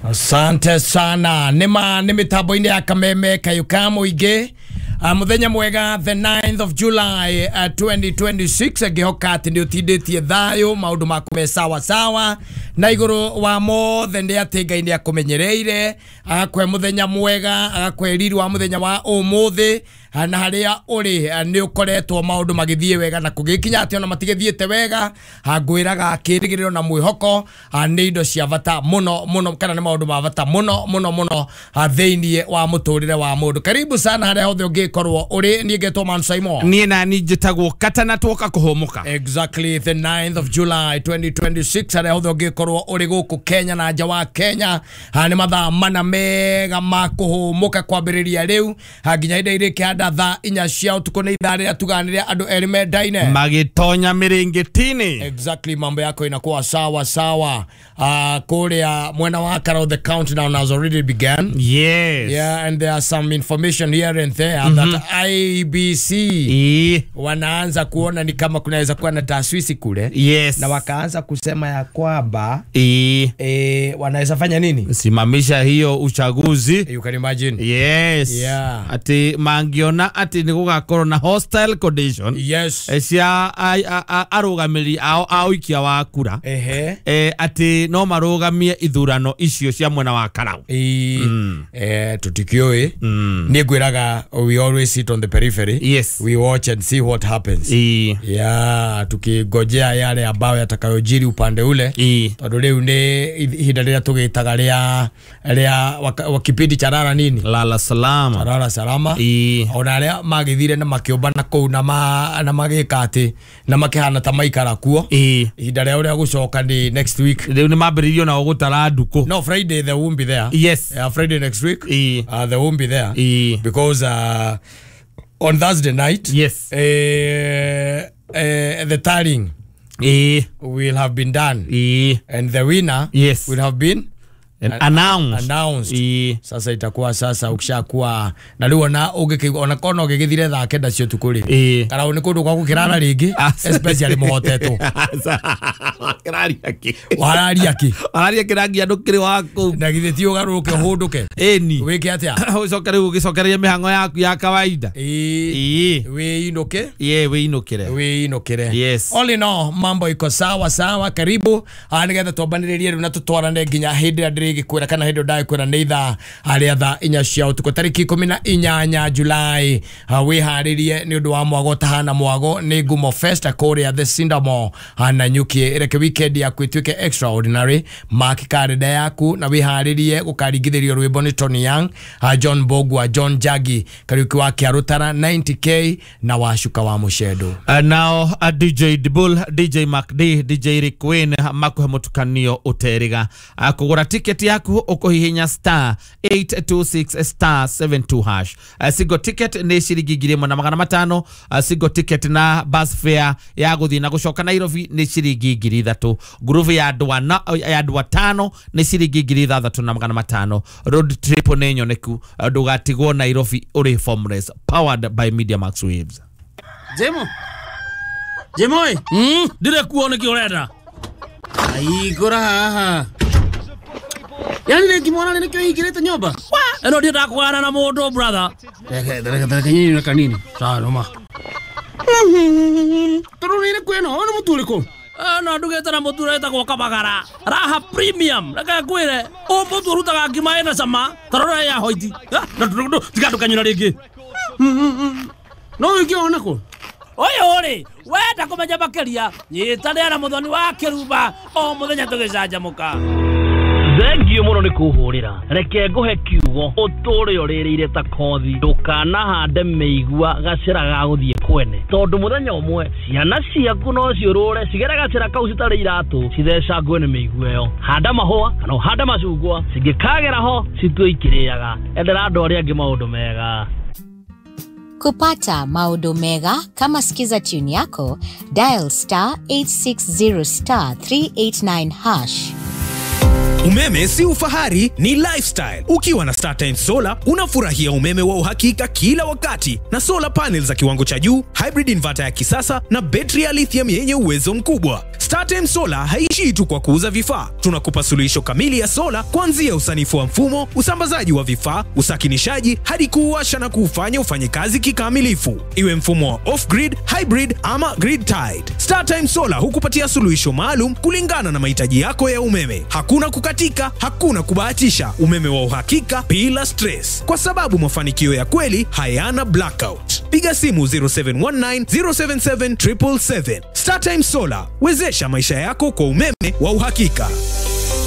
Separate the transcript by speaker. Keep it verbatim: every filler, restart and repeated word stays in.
Speaker 1: Asante sana. Nĩma nĩ mĩtambo-inĩ ya Kameme Kayũ ka Mũingĩ. Uh, muthenya mwega, the ninth of July uh, twenty twenty-six. Ngĩhoka atĩ nĩ ũtindĩtie thayũ, maũndũ maku me sawa sawa, na igũrũ wa mothe nĩ atĩ Ngai nĩ akũmenyereire, agakũhe mũthenya mwega, agakũhe riri wa mũthenya wa ũmũthĩ. Ah, na harĩa ũrĩ ah, nĩ ũkoretwo maũndũ magĩthiĩ wega, na kũgĩkinya atĩ ona matigĩthiĩte wega, ah, ngwĩraga kĩrĩgĩrĩro na mwĩhoko ah, nĩ indo cia bata mũno mũno, kana nĩ maũndũ ma bata mũno mũno mũno ah, thĩinĩ wa mũtũrĩre wa mũndũ. Karibu sana harĩa hothe ũngĩkorwo ũrĩ. Niĩ ngetwo Man Saimo.
Speaker 2: Niĩ nani njĩtagwo Katana, twoka kũhũmũka.
Speaker 1: Exactly, the ninth of July twenty twenty-six. Harĩa hothe ũngĩkorwo ũrĩ gũkũ Kenya na nja wa Kenya, ha, nĩ mathaa mana mega ma kũhũmũka kwambĩrĩria rĩu ha, nginya hĩndĩ irĩkĩhanda thaa inya cia ũtukũ. Nĩ ithaa rĩrĩa tuganĩrĩa andũ erĩ mendaine
Speaker 2: magĩtonya mĩrĩngĩtini.
Speaker 1: Exactly, mambo yako inakuwa sawa sawa. uh, kuria mwena wa Karau, the countdown has already begun.
Speaker 2: Yes.
Speaker 1: Yeah, and there are some information here and there mm -hmm. that I E B C
Speaker 2: Ii.
Speaker 1: wanaanza kuona ni kama kunaweza kuwa na taswisi kule
Speaker 2: yes
Speaker 1: na wakaanza kusema ya kwamba
Speaker 2: Ii.
Speaker 1: e, wanaweza fanya nini?
Speaker 2: Simamisha hiyo uchaguzi.
Speaker 1: You can imagine.
Speaker 2: Yes.
Speaker 1: Yeah.
Speaker 2: Ati mangiona ati nĩ gũgakorwo na hostile condition
Speaker 1: yes
Speaker 2: eh, cia a- a- a- arũgamĩrĩri ao a ũikia wa kura,
Speaker 1: ehe
Speaker 2: eh, atĩ no marũgamie ithurano icio cia mwena wa Karau.
Speaker 1: I, eh, tutikiũĩ niĩ ngwĩraga, we always sit on the periphery.
Speaker 2: Yes.
Speaker 1: We watch and see what happens.
Speaker 2: Ii.
Speaker 1: Yeah, tukingojea yale ambayo yatakayojiri upande ule,
Speaker 2: Ii.
Speaker 1: tondũ rĩu nĩ ihinda rĩrĩa tũgĩtaga rĩa rĩa waka- wa kipindi cha rara nini?
Speaker 2: Lala salama.
Speaker 1: Rara salama.
Speaker 2: Ii.
Speaker 1: Ona arĩa magĩthire na makĩũmbana kũu na ma, na magĩka atĩ na makĩhana ta maikara kuo,
Speaker 2: Ii.
Speaker 1: ihinda rĩa ũrĩa gũcoka nĩ next week.
Speaker 2: Rĩu nĩ mambĩrĩirio nao gũtara ndukũ.
Speaker 1: No, Friday they won't be there.
Speaker 2: Yes.
Speaker 1: Yeah, Friday next week
Speaker 2: Ii.
Speaker 1: uh, they won't be there
Speaker 2: Ii.
Speaker 1: because uh, on Thursday night
Speaker 2: Yes.
Speaker 1: uh, uh, the tallying
Speaker 2: Ii.
Speaker 1: will have been done
Speaker 2: Ii.
Speaker 1: and the winner
Speaker 2: Yes.
Speaker 1: will have been
Speaker 2: announced.
Speaker 1: Announced.
Speaker 2: Ii.
Speaker 1: Sasa itakuwa sasa ukishakuwa na rĩu ona ũngĩkĩigua ona kona ũngĩgĩthire thaa kenda cia ũtukũ rĩ,
Speaker 2: Ii.
Speaker 1: Karau nĩ kũndũ gwa gũkĩrara rĩngĩ, especially mũhotetwo.
Speaker 2: Kĩraria kĩ?
Speaker 1: Wararia kĩ?
Speaker 2: Araria kĩrangi andũ kĩrĩ wa kũu.
Speaker 1: Na githĩ ti ũgarũrũke ũhũndũke?
Speaker 2: Ĩni.
Speaker 1: Wĩke atĩa?
Speaker 2: Ũcoke rĩu ũgĩcokererie mĩhang'o yaku ya kawaida.
Speaker 1: Ĩĩ.
Speaker 2: Ĩĩ.
Speaker 1: Wĩinũke.
Speaker 2: Ĩĩ, wĩinũkĩre.
Speaker 1: Wĩinũkĩre.
Speaker 2: Yes.
Speaker 1: All in all, mambo iko sawa sawa. Karibu ah, nĩgetha twambanĩrĩrie rĩu na tũtwarane nginya hĩndĩ ĩrĩa ndĩrĩgĩkwĩra, kana hĩndĩ ĩyo ndagĩkwĩra nĩ ithaa rĩa thaa inya cia ũtukũ, tarĩki ikũmi na inyanya Julai. ah, wĩharĩrie nĩ ũndũ wa mwago ũtahana mwago, nĩ Ngumo Fest kũrĩa The Cinnamon na Nyuki. Reke weekend yaku ĩtuĩke extraordinary. Mark karenda yaku na wĩharĩrie gũkaringithĩrio rwĩmbo nĩ Tony Young, ah, John Bogwa, John Jagi Kariuki wa Kĩarũtara, ninety K na Wacuka wa Mũcendo.
Speaker 2: Uh, nao uh, D J Dibul, D J Mac D, D J Rick Wayne makuhe mũtukanio ũterĩga. uh, kũgũra tiketi yaku ũkũhihinya star eight two six star seven two hash. uh, single ticket nĩ ciringi ngiri ĩmwe na magana matano. uh, single ticket na bus fare ya gũthiĩ na gũcoka Nairobi nĩ ciringi ngiri ithatũ. Ngurubu ya andũ ana, ya andũ atano nĩ ciringi ngiri ithathatũ na magana matano. Road trip nĩ nyoneku. uh, ndũgatigwo Nairobi ũrĩ formless. Powered by Media Max Waves.
Speaker 3: Jemo. Jemo ĩ.
Speaker 4: Mm, ndire kuo nĩkĩ ũrenda?
Speaker 3: Aigũra haha. Yani rĩngĩ mwana nĩkĩo hingĩrĩte nyũmba?
Speaker 4: Ĩno ndiendaga kũgana na mũndũ, brother.
Speaker 3: Reke reke reke nyinyi kanini.
Speaker 4: Sawa noma.
Speaker 3: Tondũ nĩ ĩrĩkũ ĩno? Ũyũ nĩ mũtu ũrĩkũ?
Speaker 4: Ĩno ndugĩte na mũtu ũrĩa wĩtagwo Kabagara Raha Premium. Reke ngwĩre, ũyũ mũtu ũrutaga ngima ĩna cama ta rora ya hoiti. Na tiga ndũkanyũra rĩngĩ.
Speaker 3: No ũngĩona kũ?
Speaker 4: Ũyũ rĩ, wenda kũmenya makĩria, nyitanĩra na Mũthoni wa Kĩrumba o mũthenya tũgĩcanjamũka. Thengio mũno nĩ kũhũrĩra. Reke ngũhe kiugo ũtũre ũrĩrĩire ta kothi. Ndũkanahande mĩigua gacĩra ga gũthiĩ kwene, tondũ mũthenya ũmwe ciana ciaku no ciũrũre cigere gacĩra kau citarĩ iratũ, cithecangwe nĩ mĩigua ĩyo. Handa mahũa kana ũhande macungwa, cingĩkagera ho citue ikĩrĩaga. Endera andũ arĩa angĩ maũndũ mega.
Speaker 5: Kupata maodo mega kama Skiza tune yako, dial star eight six zero star three eight nine hash.
Speaker 6: Umeme si ufahari, ni lifestyle. Ukiwa na StarTimes Solar unafurahia umeme wa uhakika kila wakati na solar panels za kiwango cha juu, hybrid inverter ya kisasa na betri ya lithium yenye uwezo mkubwa. StarTimes Solar haishii tu kwa kuuza vifaa. Tunakupa suluhisho kamili ya sola kuanzia usanifu wa mfumo, usambazaji wa vifaa, usakinishaji hadi kuuwasha na kuufanya ufanye kazi kikamilifu. Iwe mfumo wa off grid, hybrid ama grid tied. StarTimes Solar hukupatia suluhisho maalum kulingana na mahitaji yako ya umeme. Hakuna kukatika, hakuna kubahatisha. Umeme wa uhakika bila stress, kwa sababu mafanikio ya kweli hayana blackout. Piga simu zero seven one nine zero seven seven seven seven seven. StarTimes Solar, wezesha maisha yako kwa umeme wa uhakika.